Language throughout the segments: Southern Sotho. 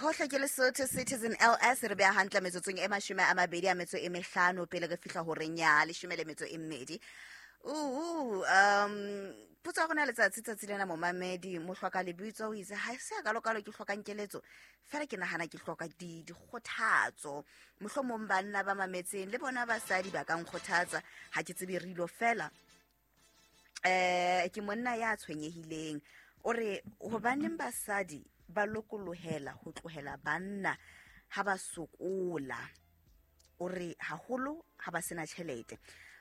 Hohle ke Lesotho Citizen LS re beha hantle metsotsong e 25 pele re fihla horeng ya 12. Potso ya rona letsatsi tsatsi lena, momamedi mohloka lebitso o itse ha se a kalokalo ke hlokang keletso, fela ke nahana ke hloka dikgothatso. Mohlomong banna ba mametseng le bona basadi ba ka nkgothatsa, ha ke tsebe rilo fela. Ke monna ya tshwenyehileng, o re hobaneng basadi ba lokolohela ho tlohela banna ha ba sokola? O re haholo ha ba sena tjhelete.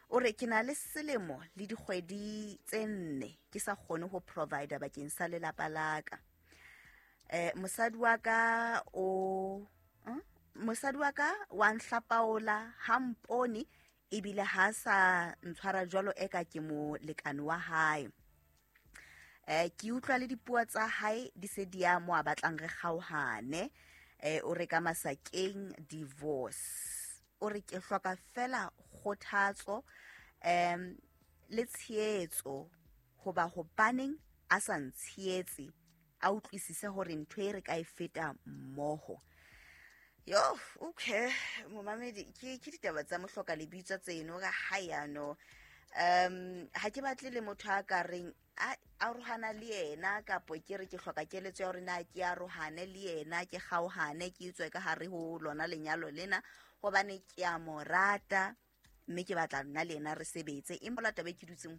O re ke na le selemo le dikgwedi tse 4 ke sa kgone ho provider bakeng sa lelapa la ka. Mosadi wa ka o mosadi wa ka wa nhlapaola, ha mpone, ebile ha sa ntshwara jwalo eka ke molekane wa hae. Ke utlwa le dipuo tsa hae di se di ya mo a batlang re kgaohane. O re ka masakeng divorce. O re ke hloka fela kgothatso le tshehetso, hoba hobaneng a sa ntshehetse, a utlwisise hore ntho e re ka e feta mmoho. Yo, okay, momamedi, ke ditaba tsa mohloka lebitso tseno ka ha yano. Ha ke batle le motho a ka reng a arohana le yena, kapo ke re ke hloka keletso ya hore na ke arohane le yena, ke kgaohane, ke tswe ka hare ho lona lenyalo lena, hobane ke a mo rata mme ke batla nna le yena re sebetse. Empa la taba e ke dutseng